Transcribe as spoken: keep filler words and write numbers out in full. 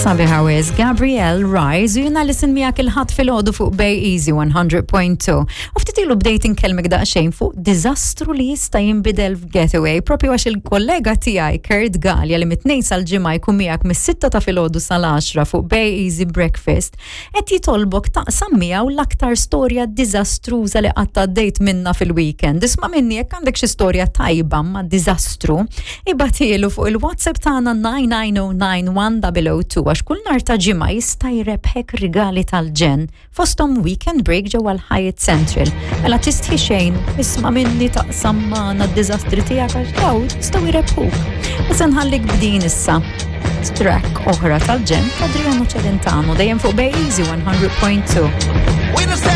Sabiħa wisq, Gabrielle Rise, u jiena Alison miegħek il-Ħadd filgħodu fuq Bay Easy one hundred point two. U ftit ilu bdejt inkellmek daqsxejn fuq diżastru li jista' jinbidel f'getaway, propju għax il-kollega tiegħi Kurt Gallia, li mit-Tnejn sal-Ġimgħa jkun miegħek mis-sitta ta' filgħodu sal-għaxra fuq Bay Easy Breakfast, qed jitolbok taqsam miegħu l-aktar storja diżastruża li qatt għaddejt minna fil-weekend. Isma' minni, jekk għandek xi storja tajba ma' diżastru, ibgħathielu fuq il-WhatsApp tagħna nine nine oh nine one oh oh two, għax kull nhar ta' Ġimgħa jista' jrebħek rigali tal-ġenn, fosthom weekend break ġewwa l-Hyatt Central. Mela tistħi xejn, isma' minni, taqsam magħna d-diżastri tiegħek, għax daw jistgħu jrebħuk. U se nħallik b'din issa track oħra tal-ġenn, Adriano Celentano, dejjem fuq Bay Easy one hundred point two.